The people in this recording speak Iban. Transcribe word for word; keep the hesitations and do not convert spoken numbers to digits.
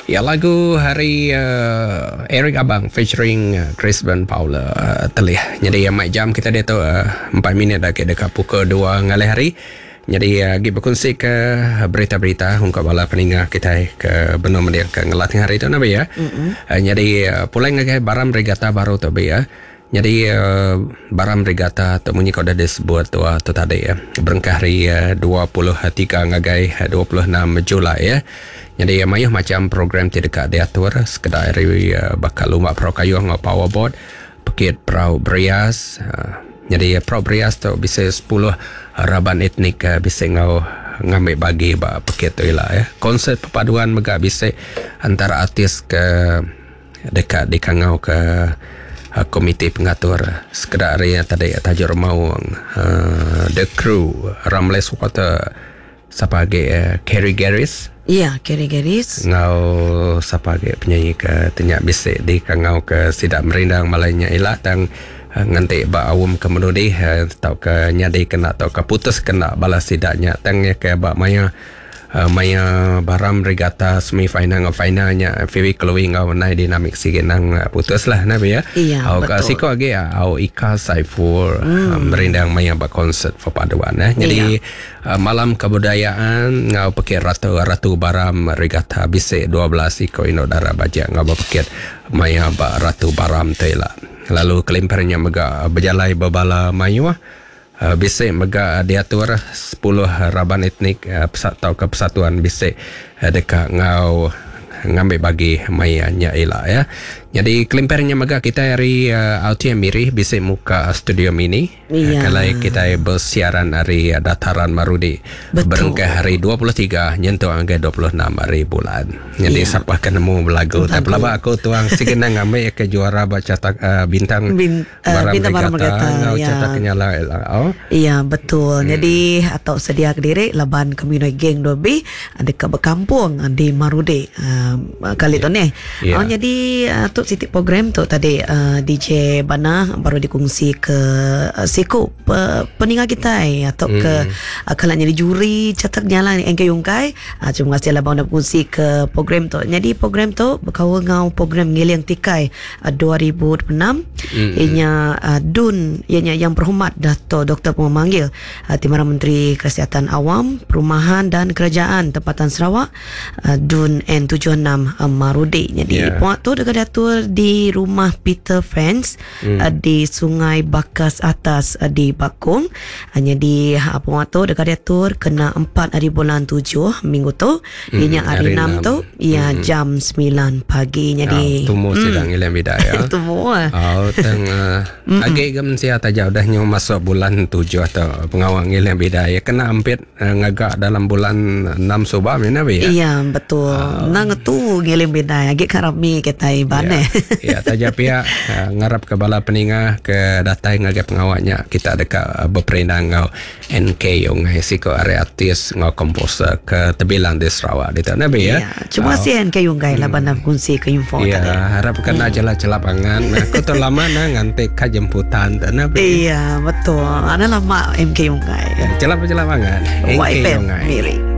Ya, lagu hari uh, Eric Abang featuring uh, Chris Van Paula uh, telih. Jadi uh, mic jam kita dia tu uh, empat minit dah ke dekat pukul dua ngalih hari. Jadi uh, lagi berkongsi ke berita-berita ungkap bala peningga kita ke benar mendia ke ngelat hari tu nabi ya. Mm-hmm. Uh, jadi uh, pulang ngagai Baram Regatta baru tu bi ya. Jadi uh, Baram Regatta tu munyi kau dah disebut tu, tu tadi ya. Berengkah hari uh, dua puluh tiga ngagai dua puluh enam Julai ya. Jadi mayuh macam program ti dekat diatur sekedar hari uh, bakal lumba perahu kayuh ngau powerboat, pekit perahu berias. Uh, jadi perahu berias tu bisa sepuluh raban etnik uh, bisa ngau ngambil bagi ba pekit tu ila ya. Konsert perpaduan mega bisa antara artis ke dekat di kangau ke uh, komite pengatur sekedar hari yang tadi Tajuk Remaung, uh, The Crew, Ramles Water, siapa lagi uh, Kerry Garris. Ya, Kerry Garris. Ngau siapa lagi penyanyi ke tenyak bisik di kangau ke sidak merindang malainya ilah tang uh, nganti ba awam ke menudi uh, tau ke nyadi kena tau ke putus kena balas sidaknya tang ya ke ba maya uh, maya Baram Regatta semi final ngau finalnya Phoebe Chloe ngau nai dinamik sikit nang uh, putus lah nabi ya. Iya, au betul. Siko lagi au Ika Saiful hmm. uh, merindang maya ba konsert perpaduan eh. Jadi iya. Uh, malam kebudayaan ngau pekit ratu ratu Baram Regatta bisik dua belas iko ino dara bajak ngau pekit maya ba ratu Baram tela. Lalu kelimparnya mega berjalai berbala mayuh. Uh, bisik mega diatur sepuluh raban etnik uh, atau ke persatuan bisik uh, dekat ngau ngambil bagi maya nya ila ya. Jadi kelimparnya mega kita hari uh, R T M Miri bisik muka studio mini. Iya. Kalau kita bersiaran hari uh, dataran Marudi. Betul. Berengkah hari dua puluh tiga nyentuh angka dua puluh enam hari bulan. Jadi iya. Siapa kena nemu belagu. Tapi laba aku tuang sikit nak ngambil ke juara baca tak, uh, bintang Bin, uh, Baram bintang Baram Regatta Regatta. ngau Ya. cetak kenyala ila. Oh. Iya, betul. Hmm. Jadi atau sedia kediri laban community geng dua B dekat berkampung di Marudi. Uh, kali tu ni. Ya. Oh, jadi uh, tu sitik program tu tadi uh, D J Bana baru dikongsi ke uh, siku pe, peninggal kita eh, atau hmm. ke uh, kalau jadi juri cetak nyala N K Yungkai. Uh, terima kasih lah bang dah kongsi ke program tu. Jadi program tu berkawal ngau program Ngiling Tikai uh, dua ribu dua puluh enam. Hmm. Ianya uh, Dun ianya yang berhormat Dato Doktor Pemanggil uh, Timbalan Menteri Kesihatan Awam, Perumahan dan Kerajaan Tempatan Sarawak uh, Dun N tujuh enam uh, Marudi. Jadi Yeah. puak tu dekat diatur di rumah Peter Friends Hmm. uh, di Sungai Bakas Atas uh, di Bakong. Hanya di uh, puak tu dekat diatur kena empat hari bulan tujuh minggu tu. Hmm, Ianya hari hari enam enam. tu ia jam sembilan pagi. Jadi Ah, tumu sidang ilang bida ya. tumu ah. Oh, teng uh, agi gem sia taja udah nyu masuk bulan tujuh atau pengawang ilang bida ya kena ampit uh, ngagak dalam bulan enam subah mina be ya. Iya betul. Uh, Nang tu ngiling bidai agi karami kita iban Ya, eh. ya taja pihak uh, ngarap ke bala peningah ke datai ngagai pengawaknya kita dekat uh, berperindang ngau N K Yongai siko area artis ngau komposer ke tebilang di Sarawak di tanah be ya. Ya, cuma si N K Yongai lah bandar kongsi ke info Ya, tadi. harap kena hmm. jelah-jelah pangan. Aku tu lama na ngantik ka jemputan tanah be. Iya, betul. Ada lama M K Yongai. Ya, celap-celap pangan. N K Y F M Yongai. Miri.